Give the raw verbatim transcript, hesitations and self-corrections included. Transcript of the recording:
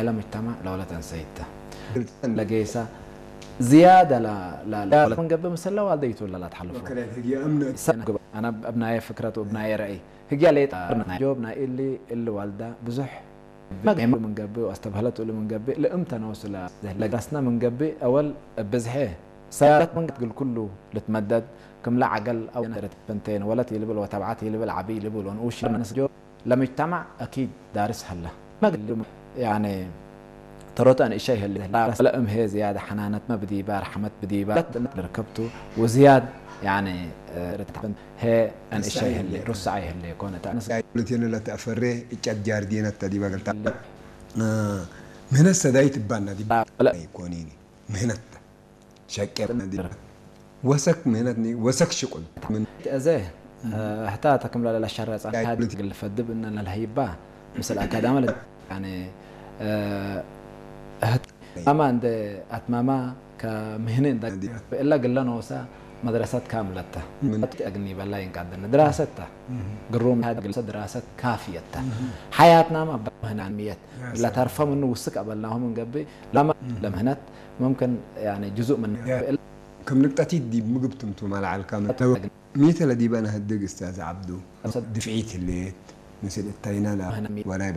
ለሙጅተማዕ ለወለት እንሰይት ተ። ለጌሰ ዝያደ ለ-፣ ለ-፣ ለ-፣ ምን ገብእ፣ ምስለ ዋልደይቱ ለላትሐልፎ። ወከዛሊክ ህግየ እምነት። ሰ-፣ አነ እብ ናየ ፍክረት ወእብ ናየ ረአይ፣ ህግየ ሌጠ ጆብ ናይ እሊ፣ እሊ ዋልደ ብዙሕ መግመ ምን ገብእ ወአስተብህለት እሉ ምን ገብእ፣ ለእምተ ኖሱ ለ-፣ ለጋስነ ምን ገብእ፣ አወል እብ ብዝሐ ሰያረት ምን ትግል ኩሉ ልትመደድ፣ ክምለ ዐገል አው ነረት ፈንቴን ወለት ይልብል ወተብዓት ይልብል ዐቢ ይልብል ወንኡሽ ነስጆ ለሙጅተማዕ አኪድ ዳርስ ሀለ። መግል ያኔ ተሮተ እንእሸይ ህሌ ለእም ሄ ዝያድ ሐናነትመ ብዲበ፣ ረሐመት ብዲበ ለርከብቱ ወዝያድ ያኔ ርትዕን ሄ እንእሸይ ህሌ፣ ሩሰዓይ ህሌ ኮነ። ተአንስ ሉቴነ ለተአፈሬ እጨት ጃርዲነት ተ ዲበ ገልታ ምህነት ሰዳይት እባና ዲብ ለ- ኮኒኒ ምህነት ሸቄ ወሰክ ምህነትኒ ወሰክ ሽቁል ምን እዘ፣ እ፣ ህታ ተክም ለለሸረጸ ያ እግል ፈድብ እነ ለልሀይባ ምስል አካዳሚ ለ-፣ ያኒ፣ እ፣ ህት-፣ አማ እንደ አትማማ ከምህነ እንደ እንዲ። እላ ግለ ኖሳ መድረሰት ካምለተ ምን? አግኒ በላይ እንቃደነ ድራሰት ተ ግሩም ሀድ ግልሰ ድራሰት ካፍየት ተ ሐያትናማ በምህናን ምየት ያ ሰላም። ለተርፈ ምኑ ውስክ አበልናሁ ምን ገብእ ለማ ለምህነት ሙምክን ያኒ ጅዙእ ምን ያ። ክም ንቅጠቲት ዲብ ምግብ ትምቱመ ለዐልካ ምን ሚ ተ ለዲበ ነሀድግ እስታዝ ዐብዱ? ድፍዒት ህሌት፣ ምስል እተይነ ለ-፣ ወናይ